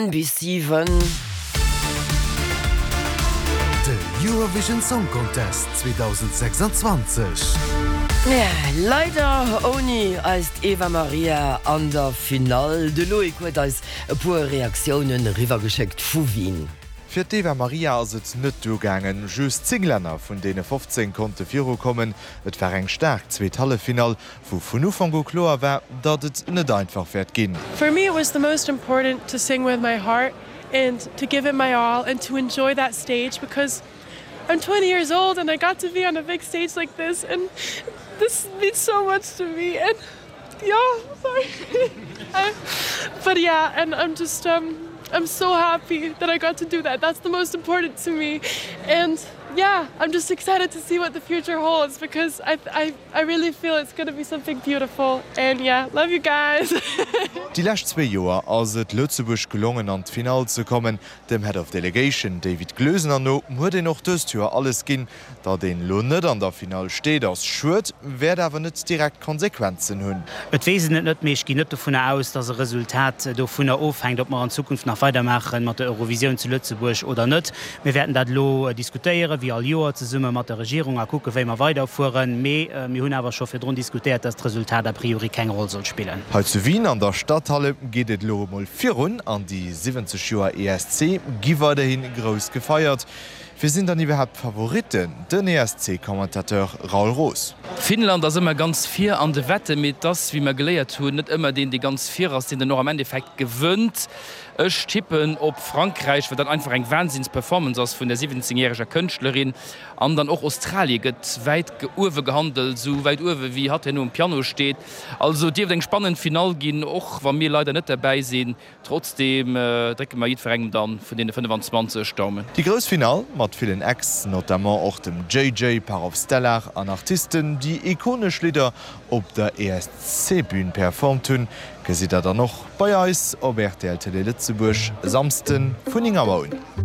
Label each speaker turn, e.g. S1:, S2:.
S1: Bis 7.
S2: De Eurovision Song Contest 2026.
S1: Leider ouni eist Eva Maria an der Finall. De Loïc huet eis e puer Reaktiounen eriwwergeschéckt vu Wien.
S3: Fir d'Eva Maria ass et net duergaangen. Just 10 Länner vun deene 15 konnte virukommen. Et war eng staark zweet Halleffinall, wou vun Ufank u kloer war, datt et net einfach wäert ginn.
S4: For me it was the most important to sing with my heart and to give it my all and to enjoy that stage because I'm 20 years old and I got to be on a big stage like this and this means so much to me and yeah sorry but yeah and I'm just um I'm so happy that I got to do that that's the most important to me and yeah I'm just excited to see what the future holds because I I I really feel it's gonna be something beautiful and yeah love you guys.
S3: Déi lescht zwéi Joer ass et Lëtzebuerg gelongen an d'Finall ze kommen. Dem Head of Delegation David Gloesener no huet een och dëst Joer alles ginn. Datt een elo net an der Finall steet ass schued, wäert awer net direkt Konsequenzen hunn.
S5: Et weess een et net, mee ech ginn net dovunner aus, datt e Resultat dovunner ofhänkt, ob mer an Zukunft nach weidermaache mat der Eurovisioun zu Lëtzebuerg oder net. Mir wäerten dat elo diskutéieren, wéi all Joer, zesumme mat der Regierung a kucken, wéi mer weiderfueren. Mee mir hunn awer scho virdrun diskutéiert, dass d'Resultat a priori keng Roll soll spillen.
S3: Hei zu Wien an der Stadthalle geet et elo emol virun an déi 70 Joer ESC gi weiderhi grouss gefeiert. Wie sinn dann iwwerhaapt d'Favoritten? Den ESC-Commentateur Raoul Roos.
S6: Finnland ass ëmmer ganz vir an de Wetten, mee et ass, wéi mer geléiert hunn, net ëmmer deen, dee ganz vir ass, deen dann och am Endeffekt gewënnt. Ech tippen op Frankräich, well dat einfach eng Wahnsinns Performance ass vun der 17 järeger Kënschtlerin. An dann och Australie gëtt wäit uewe gehandelt, esou wäit uewe wéi hatt herno um Piano steet. Also et dierft eng spannend Finall ginn, och wa mir leider net derbäi sinn. Trotzdeem drécke mer jiddwerengem dann vun deene 25 Daumen.
S3: Déi grouss Finall mat villen Acts, notamment och dem JJ, Parov Stellar an Artisten, déi ikonesch Lidder op der ESC-Bün performt hunn, gesitt der dann och bei eis op rtl Télé Lëtzebuerg e Samsden vun 9 Auer un.